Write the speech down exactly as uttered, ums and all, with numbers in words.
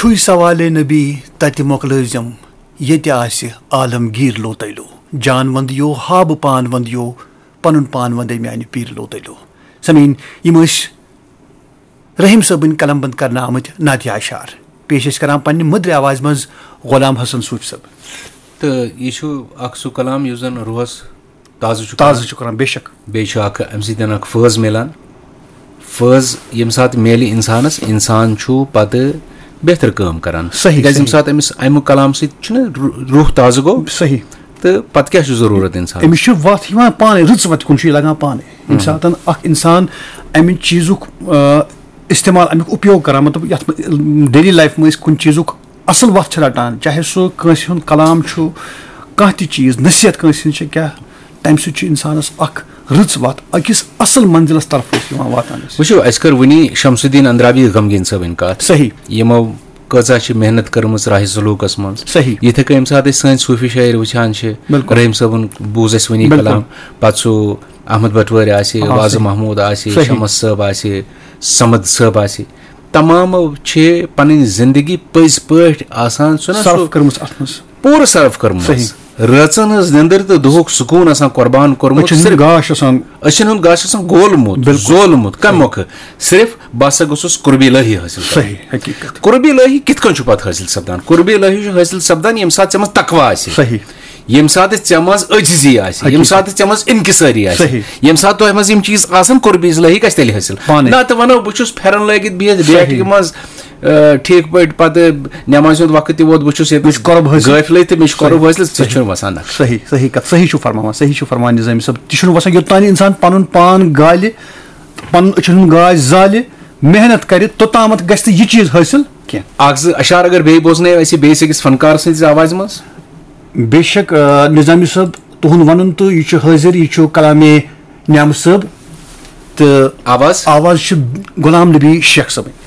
پھُے سوالے نبی تتہِ مۄکلٲوزٮ۪م، ییٚتہِ آسہِ عالمگیٖر لوتیلو۔ جان وندیو ہا بہٕ پان وندیو، پنُن پان وندے میانہِ پیٖر لوتیلو۔ سمعین، یِم ٲسۍ رحیم صٲبٕنۍ قلم بند کرنہٕ آمٕتۍ نعتیہ اشعار۔ پیش ٲسۍ کران پننہِ مٔدرِ آوازِ منٛز غلام حسن صوفی صٲب۔ تہٕ یہِ چھُ اکھ سُہ کلام یُس زن روحس تازٕ چھُ کران۔ تازٕ چھُ کران، بے شک۔ بیٚیہِ چھُ اکھ اَمہِ سۭتۍ اکھ فٲض میلان۔ فٲض ییٚمہِ ساتہٕ میلہِ اِنسانَس، اِنسان چھُ پَتہٕ بہتر کٲم کران۔ صحیح، تِکیٛازِ ییٚمہِ صحیح۔ ساتہٕ أمِس اَمہِ کلام سۭتۍ چھُنہ رو-، روح تازٕ گوٚو، صحیح۔ تہٕ پَتہٕ کیٛاہ چھُ ضروٗرت اِنسانَس؟ أمِس چھُ وَتھ یِوان پانَے، رٕژ وَتہِ کُن چھُ یہِ لگان پانَے۔ ییٚمہِ ساتہٕ اکھ اِنسان اَمہِ چیٖزُک، آ، استعمال، اَمیُک اُپیوگ کران، مطلب، یَتھ منٛز daily life منٛز أسۍ کُنہِ چیٖزُک اَصٕل وَتھ چھِ رَٹان، چاہے سُہ کٲنٛسہِ ہُنٛد کلام چھُ، کانٛہہ تہِ چیٖز، نصیحت کٲنٛسہِ ہِنٛز چھِ کیٛاہ، تَمہِ سۭتۍ چھُ اِنسانَس اکھ رٕژ وَتھ أکِس اَصٕل منزِلَس طرف أسۍ یِوان واتناونَس۔ وٕچھِو، اَسہِ کٔر وٕنی شمس الدین اندرابی غمگیٖن صٲبٕنۍ کَتھ۔ صحیح۔ یِمو کۭژاہ چھِ محنت کٔرمٕژ راہِ سلوٗکَس منٛز۔ صحیح۔ یِتھَے کٔنۍ ییٚمہِ ساتہٕ أسۍ سٲنۍ صوٗفی شٲعر وٕچھان چھِ، بِلکُل۔ رحیم صٲبُن بوٗز اَسہِ وٕنی بِلکُل۔ کلام، پَتہٕ سُہ احمد بٹوٲرۍ آسہِ، آ، وازٕ صحیح۔ محموٗد آسہِ، صحیح۔ شمس صٲب آسہِ، صمد صٲب آسہِ، تمامو چھِ پنٕنۍ زندگی پٔزۍ پٲٹھۍ آسان، چھُنہ سُہ صرف کٔرمٕژ اَتھ منٛز۔ پوٗرٕ صرف کٔرمٕژ۔ صحیح۔ رٲژن ہٕنٛز نِندٕر تہٕ دُہُک سکوٗن آسان قربان کوٚرمُت۔ أچھن ہُنٛد صرف گاش آسان۔ أچھن ہُنٛد گاش آسان گولمُت، بِلکُل۔ زولمُت۔ کمہِ صحیح۔ مۄکھٕ؟ صرف بہٕ ہسا گوٚژھُس قربِ الہی حٲصِل کرُن۔ صحیح، حقیٖقت۔ قربِ الہی کِتھ کٔنۍ چھُ پتہٕ حٲصِل سپدان؟ قربِ الہی چھُ حٲصِل سپدان ییٚمہِ ساتہٕ ژےٚ منٛز تقویٰ آسہِ۔ صحیح۔ ییٚمہِ ساتہٕ ژےٚ منٛز عٲجزی آسہِ، ییٚمہِ حقیٖقت۔ ساتہٕ ژےٚ منٛز انکسٲری آسہِ، صحیح۔ ییٚمہِ ساتہٕ تۄہہِ منٛز یِم چیٖز آسن، قربِ الہی گژھِ تیٚلہِ حٲصِل۔ پانے۔ نہ تہٕ ونو، بہٕ چھُس پھٮ۪رن لٲگِتھ بِہِتھ صحیح۔ بیٹھکہِ منٛز، آ، ٹھیٖک پٲٹھۍ پتہٕ نٮ۪مازِ ہُنٛد وقت تہِ ووت، بہٕ چھُس ییٚتہِ مےٚ چھُ قۄرب حٲصِل۔ غٲفلٕے تہٕ مےٚ چھُ قۄرب صحیح۔ حٲصِل، ژےٚ صحیح۔ چھُنہٕ وسان نقش۔ صحیح، صحیح کتھ، صحیح چھُ فرماوان، صحیح چھُ فرماوان نظامی صٲب، تہِ چھُنہٕ وسان، یوٚتام نہٕ انسان پنُن پان گالہِ، پنُن أچھن ہُنٛد گاش زالہِ، محنت کرِ، توٚتامتھ گژھِ نہٕ یہِ چیٖز حٲصِل کینٛہہ۔ اکھ زٕ اشعار اگر بیٚیہِ بوزنٲیِو اَسہِ بیٚیِس أکِس فنکار سٕنٛزِ آوازِ منٛز۔ بے شک، آ، نظامی صٲب، تُہُنٛد وَنُن تہٕ یہِ چھُ حٲضِر، یہِ چھُ کلامِ نعمت صٲب۔ تہٕ آواز؟ آواز چھِ غلام نبی شیخ صٲبٕنۍ۔